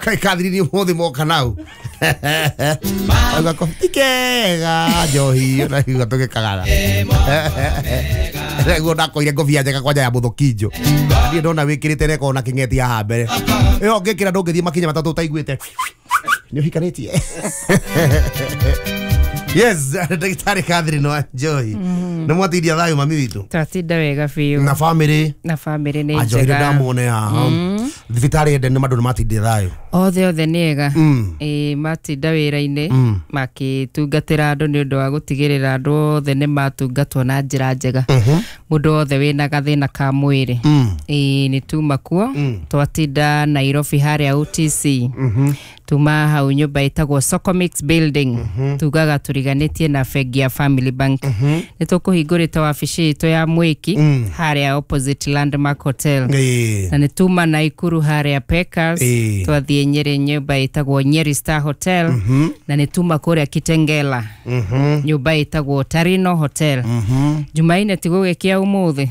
Kathiri mũthĩ moka nau auga tikega njohi na igua tũgĩkagara nĩguo ndakoire ngobia njega kwanja ya mũthũkinjo. Niĩ ndona wĩkĩrĩte reko na kĩng'eti haha mbere ĩyo ngĩkĩra ndũngĩthiĩ makinya matatũ ũtaiguĩte nĩ ũhikanĩtie. Yes, ndagĩtarĩ Catherine wa Njohi. Nĩ mwatindia thayũ mami witũ? Twatinda wega biũ. Na famĩlĩ? Na famĩlĩ nĩ njega. Ndamuone haha thibitarĩ ende nĩ mandũ nĩ matindia thayũ? Othe othe nĩ ega. Ĩĩ, matinda wĩra-inĩ makĩtungatĩra andũ nĩ ũndũ wa gũtigĩrĩra andũ othe nĩ matungatwo na njĩra njega. Mũndũ wothe wĩna gathĩna ka mwĩrĩ. Ĩĩ, nĩ tuma kuo. Twatinda Nairobi harĩa OTC. Tuma hau nyũmba ĩtagwo Socomix Building. Tugaga tũriganĩtie na bengi ya Family Bank. Nĩ tũkũhingũrĩte wabici itũ ya Mwĩki harĩa opposite Landmark Hotel. Na nĩ tuma Naikuru harĩa Packers. Twathiĩ Nyeri nyũmba ĩtagwo Nyeri Star Hotel. Na nĩ tuma kũrĩa Kitengela. Nyũmba ĩtagwo Tarino Hotel. Jumaine tigũgĩkia ũmũthĩ.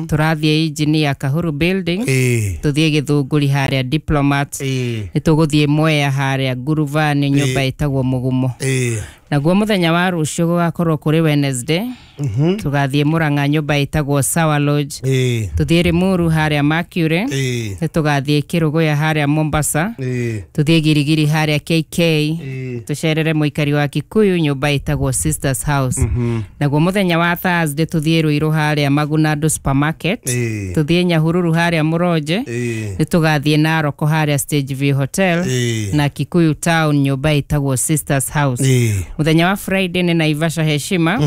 Tũrathiĩ Engineer Kahuru Building. Tũthiĩ Gĩthũngũri harĩa Diplomat. Nĩ tũgũthiĩ Mwea harĩa Nguruvani nyũmba ĩtagwo Mũgumo. Naguo mũthenya wa rũciũ gũgakorwo kũrĩ Wednesday. Tũgathiĩ Murang'a nyũmba ĩtagwo Sawa Lodge. Tũthiĩ Limuru harĩa Mercury. Nĩ tũgathiĩ Kĩrũgũya harĩa Mombasa. Tũthiĩ Girigiri harĩa KK. Tũcerere mũikari wa Kikuyu nyũmba ĩtagwo Sisters House. Naguo mũthenya wa Thursday tũthiĩ Ruiru harĩa Magunandu Supermarket. Tũthiĩ Nyahururu harĩa Mũronje. Nĩ tũgathiĩ Naroko harĩa Stage View Hotel. Na Kikuyu Town nyũmba ĩtagwo Sisters House. Mũthenya wa Friday nĩ Naivasha Heshima.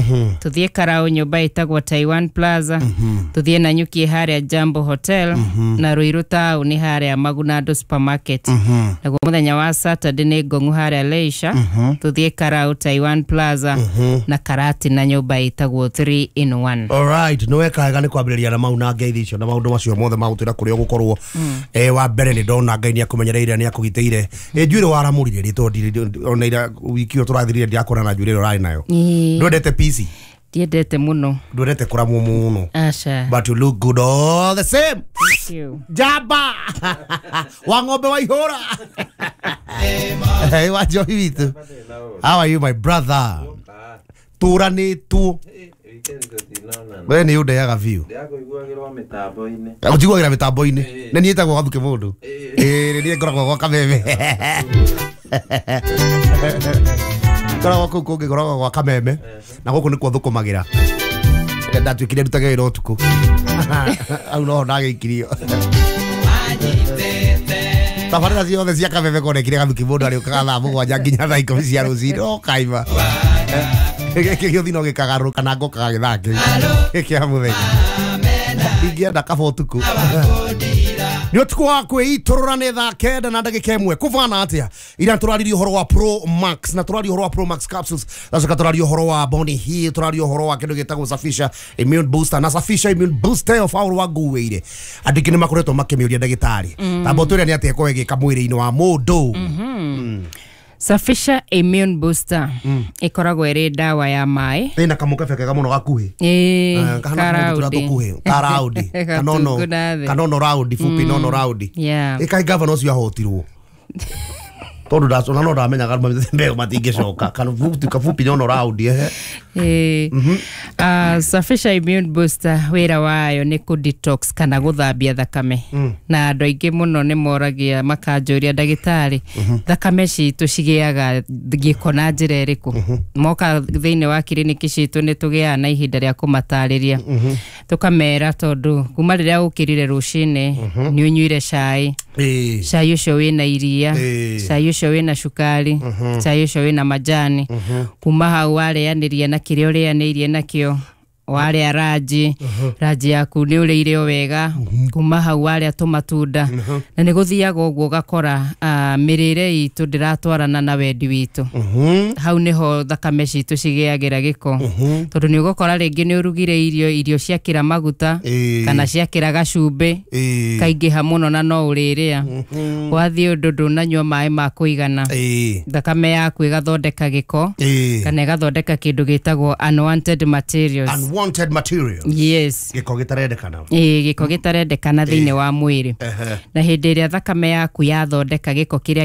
Tũthiĩ Karau nyũmba ĩtagwo Taiwan Plaza. Tũthiĩ Nanyuki harĩa Jambo Hotel. Na Ruiru Town harĩa Magunandu Supermarket. Naguo mũthenya wa Saturday nĩ Ngong'u harĩa Leisure. Tũthiĩ Karau Taiwan Plaza. Na Karati na nyũmba ĩtagwo 3 in 1. All right, nĩ weka wega nĩ kwambĩrĩria na mau na ngeithi icio na maũndũ macio mothe ma gũtwĩra kũrĩa ũgũkorwo. Wa mbere nĩ ndona Ngai nĩ akũmenyereire nĩ akũgitĩire. Njuĩrĩ waramũrire rĩ tondũ ona ira wiki ĩyo tũrathirire ndirakona na njuĩrĩ ĩrĩa ũrarĩ nayo. Ndwendete peace? Ndiendete mũno. Ndwendete kũramwo mũno. Aca. But you look good all the same. Thank you. Jamba wa ng'ombe wa ihũra. Hey, wa Njohi witũ. How are you my brother? Tũranĩtwo. We nĩ ũndeaga biũ. Ũnjiguagĩra mĩtambo-inĩ. Nĩ niĩ ĩtagwo Gathuke mũndũ. Ĩĩ, nĩ niĩ ngoragwo gwa Kameme. Ngoragwo kũu kũngĩ ngoragwo gwa Kameme. Na gũkũ nĩkuo thũkũmagĩra. Ndatuĩkire ndutage wĩra ũtukũ. Hau noho ndagĩikirio. Tabarĩra ciothe cia Kameme konekire Gathuke mũndũ arĩũkaga thaa 7 nginya thaa 10 cia rũcinĩ. Ũkaima. Gĩkĩ gĩũthi no gĩkagarũrũka na ngokaga gĩthaa kĩu gĩa mũthenya. Ingĩenda kaba ũtukũ. Nĩ ũtukũ wa kwĩitũrũra nĩ thaa 9 na ndagĩka 1. Kũbana atĩa? Ira tũraririe ũhoro wa Pro Max na tũraria ũhoro wa Pro Max capsules. Gacoka tũraria ũhoro wa Bonny Hill, tũraria ũhoro wa kĩndũ gĩtagwo Safisha Immune Booster na Safisha Immune Booster of our wa nguĩire. Andũ aingĩ nĩ makoretwo makĩmĩũria ndagĩtarĩ. Tamba ũtwĩre nĩ atĩa ĩkoragwo ĩgĩka mwĩrĩ-inĩ wa mũndũ. Safisha Immune Booster ĩkoragwo ĩrĩ ndawa ya maĩ. Ĩna kamũkebe kega mũno gakuhĩ. Karaudi. Karaudi. Kanono. Kanono raudi fupi nono raudi. Ĩkaĩ gavana ũcio ahotirwo. Tondũ ndacona no ndamenyaga mbeo matingĩcoka. Kafupi nono raudi ehe. Safisha Immune Booster wĩra wayo nĩ kũ detox kana gũthambia thakame. Na andũ aingĩ mũno nĩ moragia makanjũria ndagĩtarĩ thakame citũ cigĩaga gĩko na njĩra ĩrĩkũ. Moka thĩinĩ wa kiriniki citũ nĩ tũgĩaga na ihinda rĩa kũmatarĩria. Tũkamera tondũ kuma rĩrĩa ũkĩrire rũcinĩ nĩ ũnyuire cai. Cai ũcio wĩna iria, cai ũcio wĩna cukari, cai ũcio wĩna majani. Kuma hau warĩanĩria na kĩrĩa ũrĩanĩirie nakĩo. Warĩa ranji, ranji yaku nĩ ũrĩire o wega. Kuma hau warĩa tũmatunda. Na nĩ gũthiaga ũguo ũgakora mĩrĩre itũ ndĩratwarana na wendi witũ. Hau nĩho thakame citũ cigĩagĩra gĩko. Tondũ nĩ ũgũkora rĩngĩ nĩ ũrugire irio ciakĩra maguta kana ciakĩra gacumbĩ kaingĩha mũno na no ũrĩrĩa. Wathiĩ ũndũ ndũnanyua maĩ ma kũigana. Thakame yaku ĩgathondeka gĩko kana ĩgathondeka kĩndũ gĩtagwo unwanted materials. Unwanted materials. Yes. Gĩko gĩtarendekana. Gĩko gĩtarendekana thĩinĩ wa mwĩrĩ. Na hĩndĩ ĩrĩa thakame yaku yathondeka gĩko kĩrĩa